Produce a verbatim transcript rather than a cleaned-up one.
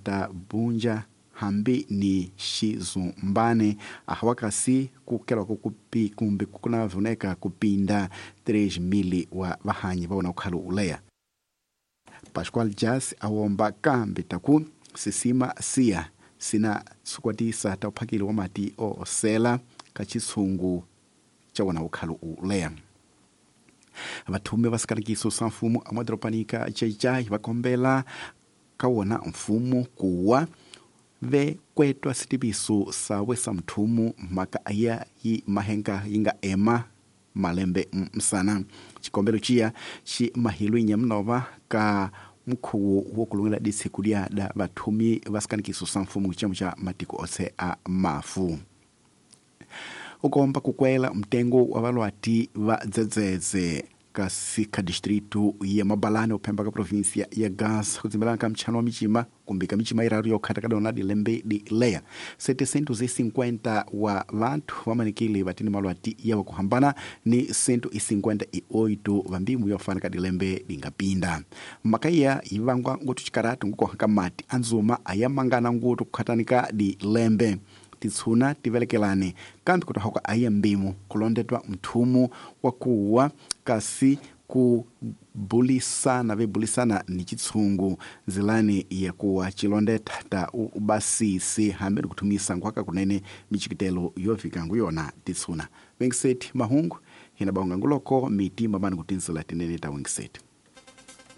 ta Bunja hambi ni Xizumbane ahawakasi kukelwa kukupi kumbe kuna vuneka kupinda três mil wa vahanyi va wona ukhalo uleya. Pascoal Jas awomba kambe taku sisima siya sina sukwatisa ta uphakeli wa mati osela ka chitshungu cha wona ukhalo uleya. Vathume va sikanikiso sa mfumo amadoropanika Xai-Xai va kombela ka wona mfumo kuwa ve kwetwa sitiviso sawe sa mthumu mhaka ya yi mahenga yi nga ema malembe msana. Xikombelo xiya xi mahilwi nyamunova ka mukhuwo wo kulungela disiku lya da vathumi va sikanikiso sa mfumo xiyimo xa matiko ose a mafu. Ukomba kukwela mtengo wa valwati va dzedzedze kasi ka distrito ya Mabalane uphemba ka província ya Gaza kudzimbelana ka mchano wa michima kumbe ka michima iraru yokhata ka dona dilembe di leya setecentos e cinquenta wa vanthu vamanikile vatini malwati yawa kuhambana ni cento e cinquenta e oito va mbimu yofana ka dilembe dingapinda. Makaiya yivangwa ngotu chikaratu ngukoha ka mati anzuma ayamangana ngutu kukhatanika dilembe titshuna tivelekelane kambe kutohoka aiya mbimu kulondetwa mthumu wa kuwa kasi kubulisana vebulisana ni chitshungu nzilani ya kuwa chilondeta ta ubasisi hambi kuthumisa nkhwaka kunene michikitelo yofika nguyona titshuna. Wengiseti mahungu hina baunga nguloko mitima mani kutinzila tinene ta wengiseti.